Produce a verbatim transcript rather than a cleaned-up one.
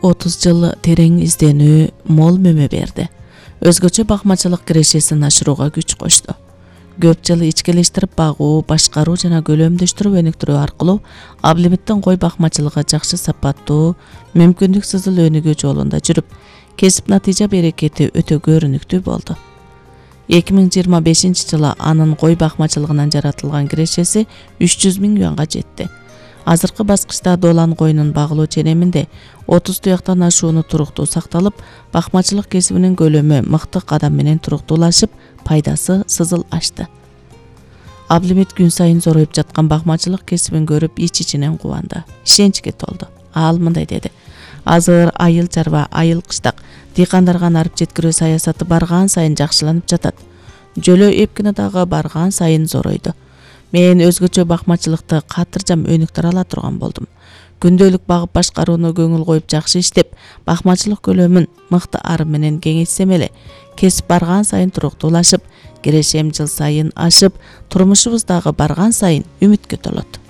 отуз жыл терең изденүү мол мөмө берди. Өзгөчө бакмачылык кирешесин ашырууга күч кошту. Көп жыл ичкилештирип багуу, башкаруу жана көлөмдөштүрүп өнүктүрүү аркылуу Аблимиттин кой бакмачылыгы жакшы сапаттуу, мүмкүндүксүзүл өнүгүү жолунда жүрүп, кесип натыйжа берекети өтө көрүнүктүү болду. эки миң жыйырма бешинчи жылы анын кой бакмачылыгынан жаратылган кирешеси үч жүз миң юанга жетти. Азыркы баскычта долан коюнун багылуу ченеминде отуз туяктан ашууну туруктуу сакталып, бакмачылык кесибинин көлөмү мыкты кадам менен туруктуулашып, пайдасы сызыл ашты. Аблимит күн сайын зороюп жаткан бакмачылык кесибин көрүп ич-ичинен кубанды, ишеничке толду. Ал мындай деди: азыр айыл чарба, айыл кыштак дыйкандарга нарып жеткирүү саясаты барган сайын жакшыланып жатат. Жөлөө эпкини дагы барган сайын зоройду. Мен өзгөчө бакмачылыкты катыржам өнүктүрө ала турган болдум. Күндөлүк багып башкарууну көңүл коюп жакшы иштеп, бакмачылык көлөмүн мыкты ары менен кеңейтсем эле, кесип барган сайын туруктуулашып, кирешем жыл сайын ашып, турмушубуз дагы барган сайын үмүткө толот.